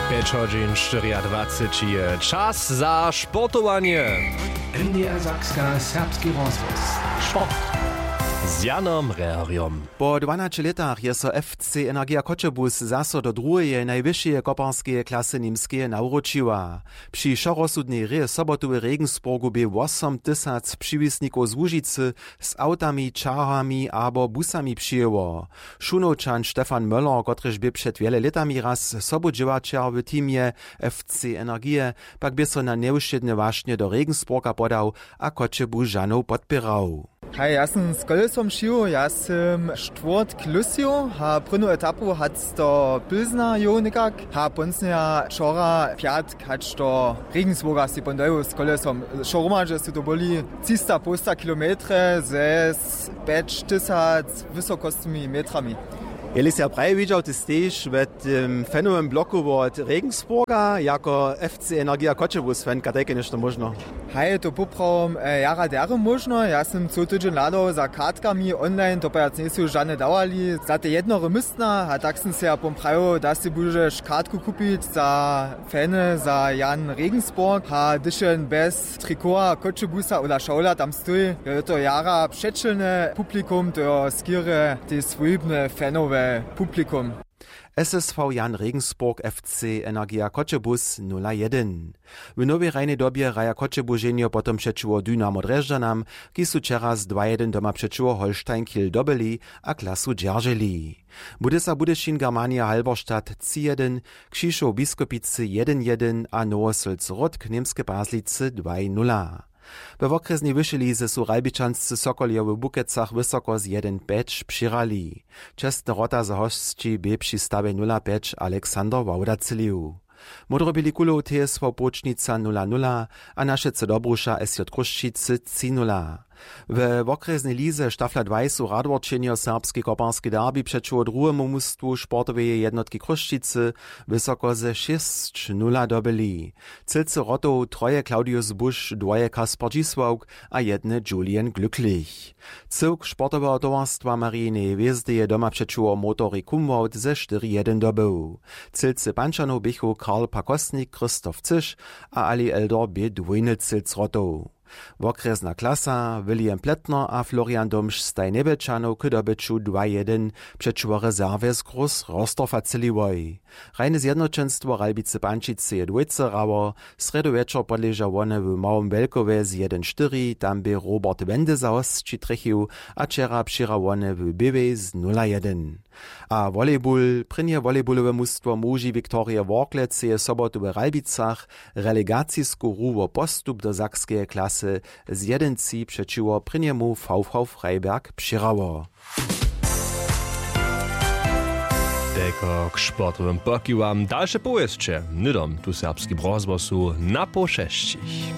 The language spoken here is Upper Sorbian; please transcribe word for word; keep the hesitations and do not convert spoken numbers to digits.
Pjeć hodźin štyriadwaceći je čas za sportowanje. N D R Sakska, serbski rozhłos. Sport z Janom Rehrjom. Po dwanaće lětach je so F C Energija Choćebuz zaso do druheje najwyšeje koparskeje klasy Němskeje nawróčiła. Při wšorozsudnej hrě sobotu w Regensburgu bě wosom tysac přiwisnikow z Łužicy z awtami, čarhami abo busami přijěło. Šunowčan Stefan Möller, kotryž bě před wjele lětami raz sobudźěłaćer w teamje F C Energije, pak bě so na njewšědne wašnje do Regensburga podał a Choćebužanow podpěrał. Haj, ja sym z kolesom přił, ja sym štwórtk lusił a prěnu etapu hač do Pilzna jěł někak a ponsnjeja wčora pjatk hač do Regensburga si pon dojěł z kolesom. Wšo hromadźe su to byli třista połsta kilometre ze s-, pjeć tysac wysokostnymi metrami. Jeli sej ja praje widźał, ty stejiš w tym fanowym bloku wot Regensburga jako F C Energija Choćebuz fan, kaž tajke něšto móžno? Haj, to poprawom, e, jara derje móžno. Ja sym cyły tydźeń hladał za kartkami online, to pjac njejsu žane dawali za te jednore městna a tak sym sej ja pon prajił, da sej budźeš kartku kupić za fany za Jan Regensburg a hdyž jen bjez trikoła Choćebuza a šawla tam stej, je to jara přećelne publikum, to jo skerje te swójbne fanowe publikum. S S V Jan Regensburg, F C Energija Choćebuz nula jedyn. W nowej hrajnej dobje hraja Choćebuženjo potom přećiwo Dynamo Drježdźanam, kiž su wčera z dwa jedyn doma přećiwo Holstein Kiel dobyli a klasu dźerželi. Budysa Budyšin Germania Halberstadt tři jedyn, Křišow Biskopicy jedyn jedyn a Nowosylc Ródk Němske Pazlicy dwaj nula. We wokrjesnej wyšej lize su Ralbičanscy Sokoljo w Bukecach wysoko z jedyn pjeć přěhrali. Čestne wrota za hosći bě při stawje nula pjeć Alexander Wauda třělił. Módroběli kulow T S V Płučnica nula nula a Našecy Dobruša S J Chrósćicy tři nula. We wokrjesnej lize Stafla dwaj su radworčenjo serbski koparski derbi přećiwo druhemu mustwu sportoweje jednotki Chrósćicy wysoko ze šěsć nula dobyli. Třěcy wrotow troje Claudius Busch, dwoje Kasper Dźisławk a jedne Julian Glücklich. Cyłk sportoweho towarstwa Marijineje hwězdy je doma přećiwo Motory Kumwald ze štyri jedyn dobył. Třěcy pančanow běchu Karl Pakosnik, Christoph Cyš a Ali Eldor bě dwójny třěc wrotow. Wokrjesna klasa William Plättner a Florian Domž staj Njebjelčanow k dobyću dwa jedyn přećiwo rezerwje z Groß Rorsdorfa třěliłoj. Hrajne zjednoćenstwo Ralbicy Pančicy je dwójce hrało, srjedu wječor podleža wone w Małym Wjelkowje z jedyn štyri, tam bě Robert Wende za hosći trjechił a wčera přěhra wone w Běłej z nula jedyn. A volejbul, prěnje volejbulowe mustwo muži Wiktorije Worklec je sobotu w Ralbicach relegacisku hru wo postup do sakskeje klasy z jedyn tři přećiwo prěnjemu V V Freiberg přěhrało. Telko k sportowym pokiwam, dalše powěsće hnydom tu w serbskim rozhłosu na poł šesćich.